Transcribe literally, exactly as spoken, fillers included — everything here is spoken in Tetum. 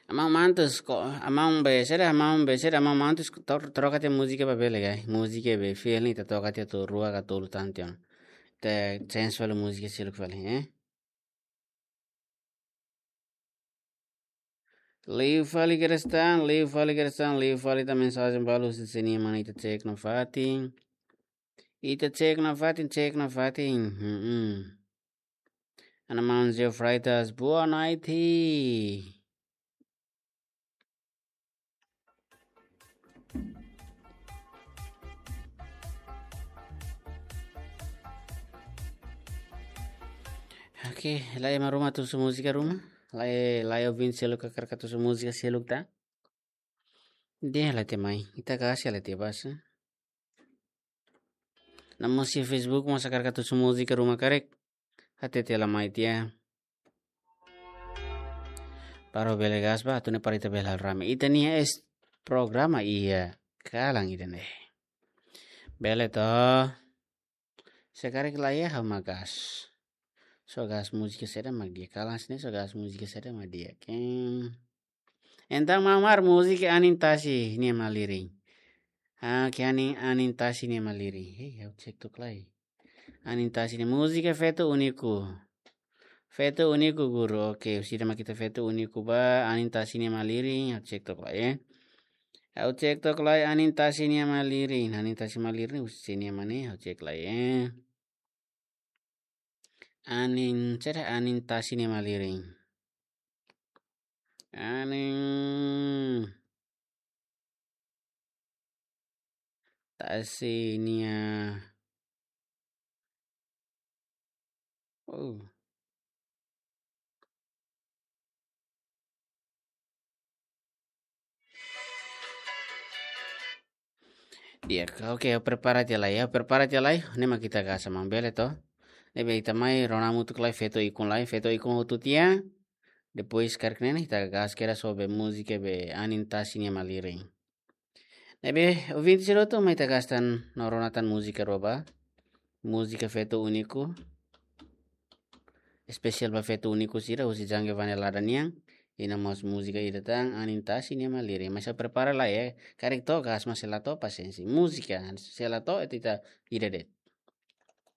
Amau mantus ko, amau be sera, amau be sera, amau mantus ko, tor-, troka tiha múzika ba bele gai. Múzika be feeling ita toka tiha atu rua ka tolu tan tiha ona. Ita change fali múzika seluk fali, eh? Liu fali kedas tan, liu fali kedas tan, liu fali tan mensajen balu husi sira-nia mana, ita cek nafatin. Ita cek nafatin, cek nafatin. Hmm. Ana Manzio Freitas, boa noite. Oke, lai ema ruma tusu múzika ruma. Lai, lai ouvinte seluk hakarak tusu múzika seluk ta. Dehan la iha mai, ita kasi la iha basa. Namun husi Facebook mós hakarak tusu múzika ruma karik. Hatete la mai tiha. Para bele gas ba, atu nune'e para ita bele halo rame. Ita-nia es programa iha kalan ida-ne'e. Bele to. Se karik la iha ha'u mak gas. Só gas múzika saida mak di'ak, kalan sira-ne'e só gas múzika saida mak di'ak. Ken. Entaun mamar múzika anin tasi nia malirin. Ah, ke anin, anin tasi nia malirin. Hei, ha'u cek tok lai. Anin tasi nia múzika Feto Único. Feto Único guru. Oke, husi ida mak ita Feto Único ba, anin tasi nia malirin. Ha'u cek tok lai, eh. Ha'u cek tok lai anin tasi nia malirin. Anin tasi malirin, husi nia mana, ha'u cek lai, eh. Anin, sera anin tasi nia malirin. Anin tasi nia. Oh. Di'ak, oke, prepara tiha lai, ya, prepara tiha lai, ne'e mak ita gas amang bele to. Ne'ebé ita mai rona hamutuk lai Feto Ikun lai, Feto Ikun hotu tiha. Depois karik ne'e ita gas kedas ho be múzika be anin tasi nia malirin. Ne'ebé, ouvinte sira hotu mai ita gas tan no rona tan múzika rua ba. Múzika Feto Único. Espesiál ba Feto Único sira, husi Jangge Vanelada nian. I no mós múzika ida tan, anin tasi nia malirin. Mas ha'u prepara lai, eh. Karik to'o gas, mas se la to'o pasiénsia. Múzika, se la to'o, ita ida de'it.